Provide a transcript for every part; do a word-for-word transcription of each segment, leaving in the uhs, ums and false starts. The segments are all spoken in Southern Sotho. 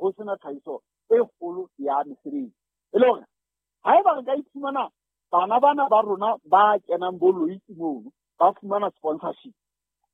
ho sena tlhahiso e kgolo ya mesebetsi. E le hore haeba re ka iphumana bana bana ba rona ba kenang bo Loitse mono ba fumana sponsorship,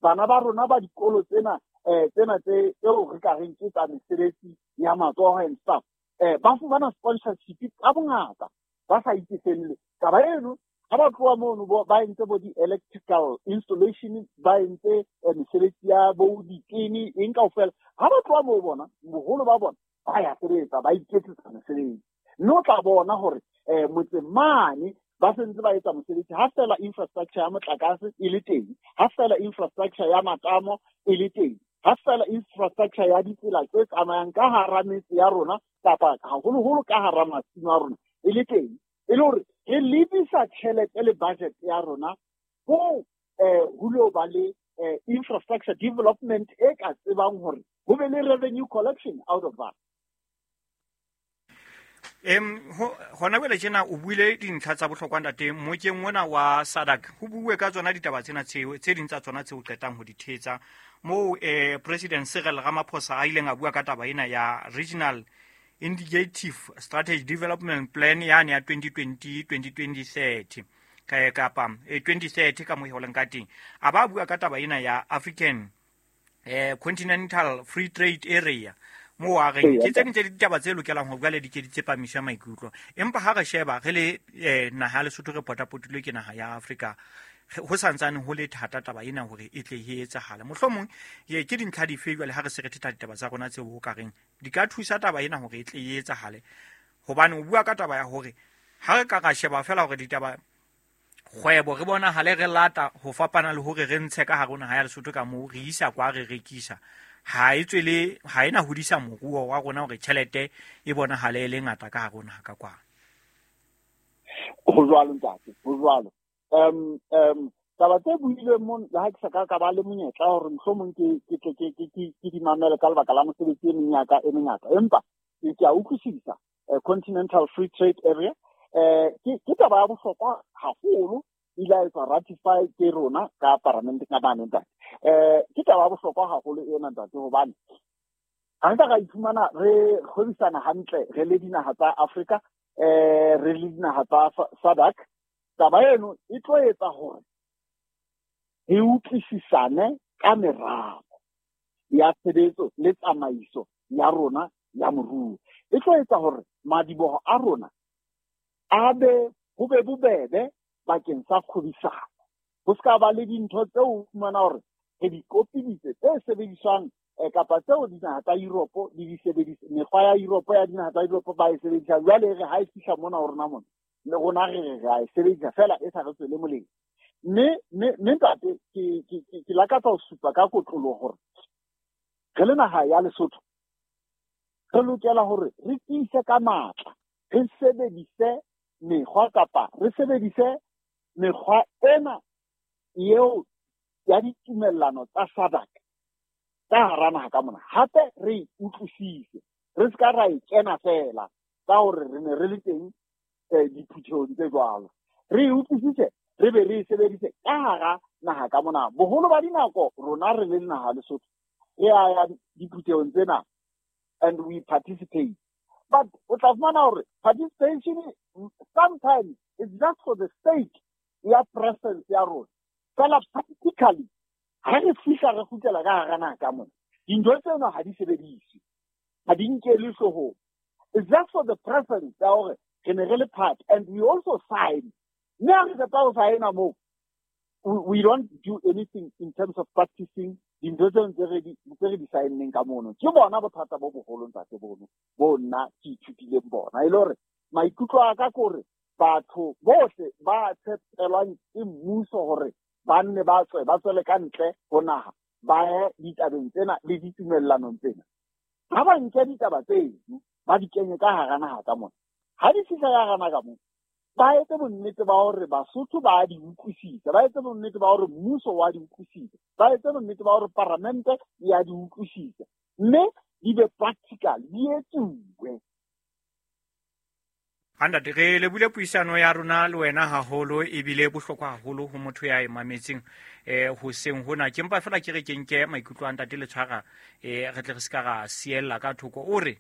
bana ba rona ba dikolo tsena eh tsena tse tseo re ka reng ke tsa mesebetsi ya matsoho and stuff, eh ba fumana sponsorship ka bongata ba sa itefelle. Taba eno ha ba tloha mono ba entse bo di-electrical installation, ba entse mesebetsi ya bo ditene eng kaofela. Ha ba tloha moo bona boholo ba bona ba ya sebetsa, ba iketsetsa mesebetsi. Mme o tla bona hore um motseng mane ba sentse ba etsa mosebetsi ha fela infrastructure ya motlakase e le teng, ha fela infrastructure ya matamo e le teng, ha fela infrastructure ya ditsela tse tsamayang ka hara metse ya rona kapa haholoholo ka hara masimo a rona e le teng, e le hore re lebisa tjhelete le budget ya rona ho eh ho lo ba le infrastructure development e ka tsebang hore ho be le revenue collection out of that. Em hona jwale tjena o buile dintlha tsa bohlokwa, ntate. Mokeng ona wa SADC ho buuwe ka tsona ditaba tsena tseo, tse ding tsa tsona tseo qetang ho di thetsa moo. eh President Cyril Ramaphosa a ileng a bua ka taba ena ya Regional Indicative Strategy Development Plan yane ya twenty twenty twenty thirty kapa twenty thirty ka mo e leng ka teng. A ba bua ka taba ena ya African eh Continental Free Trade Area, moo a reng ke tse ding tsa ditaba tse lokelang ho jwale di ke di tsepamiswe maikutlo. Empa ha re sheba re le eh, naha ya Lesotho, re potapotilwe ke naha ya Afrika, ho santsane ho le thata taba ena hore e tle e etsahale. Mohlomong ke dintlha dife jwale, ha re se re thetha ditaba tsa rona, tseo ho ka reng di ka thusa taba ena hore e tle e etsahale? Hobane o bua ka taba ya hore ha re ka ra sheba fela hore ditaba kgwebo re bonahale re lata ho fapana le hore re ntshe ka hare ho naha ya Lesotho ka moo re isa kwa re rekisa, ha e tswele, ha ena hodisa moruo wa rona hore tjhelete e bonahale e le ngata ka hare ho naha ka kwano. Ho jwalo, ntate, ho jwalo. um um taba tse builweng mo, le ha ke sa ka ka ba le monyetla hore mohlomong ke ke ke ke ke ke di mamele ka lebaka la mosebetsi e meng ya ka e mengata, empa ke a utlwisisa. Continental Free Trade Area eh ke ke taba ya bohlokwa haholo, ile a etswa ratify ke rona ka parlamenteng ka mane, ntate. eh ke taba ya bohlokwa haholo ena, ntate, hobane ha re ka ra iphumana re kgwebisana hantle re le dinaha tsa Afrika, eh re le dinaha tsa SADC, taba eno e tlo etsa hore re utlwisisane ka meralo ya tshebetso le tsamaiso ya rona ya moruo. E tlo etsa hore madiboho a rona a be ho be bobebe bakeng sa kgwebisano, ho ska ba le dintho tseo o fumana hore re di kopiditse tse sebediswang kapa tseo dinaha tsa Europe di di sebedisa, mekgwa ya Europe, ya dinaha tsa Europe ba e sebedisa. Jwale re ha e fihla mona ho rona mona, le rona re re re a e sebedisa fela e sa re tswele molemo. Mme mme mme ntate, ke ke ke lakatsa ho supa ka kotloloho hore re le naha ya Lesotho re lokela hore re tiise ka matla, re sebedise mekgwa kapa re sebedise mekgwa ena eo ya ditumellano tsa SADC ka hara naha ka mona. Hape re e utlwisise, re ska ra e kena fela ka hore re ne re le teng diphuthehong tse jwalo. Re e utlwisise, re be re e sebedise ka hara naha ka mona. Boholo ba dinako rona re le naha Lesotho re a ya diphuthehong tsena and we participate, but o tla fumana hore participation sometimes it's just for the sake ya presence ya rona fela. Practically, ha re fihla re kgutlela ka hara naha ka mona, dintho tseno ha di sebediswe, ha di nkelwe hloohong. It's just for the presence ya hore re ne re le part and we also sign. Mme ha re qeta ho signa moo, we don't do anything in terms of practicing dintho tseo tse re di tse re di sign-neng ka mono. Ke bona bothata bo boholo, ntate, bono bo nna ke ithutileng bona. E le hore maikutlo a ka ke hore batho bohle ba tshepelwang ke mmuso hore ba nne ba tswe ba tswele ka ntle ho naha ba ye ditabeng tsena le ditumellanong tsena, ha ba nke ditaba tseno ba di kenye ka hara naha ka mona. Ha di fihla ka hara naha ka mona, ba etse bonnete ba hore Basotho ba di utlwisisa, ba etse bonnete ba hore mmuso wa di utlwisisa, ba etse bonnete ba hore paramente ya di utlwisisa, mme di be practical, di etsuwe. Ntate, re lebule puisano ya rona le wena haholo, ebile bohlokwa haholo ho motho ya e mametseng eh hoseng hona. Ke mpa fela ke re ke nke maikutlo a ntate le tshwara, eh re tle re se ka ra siella ka thoko o re.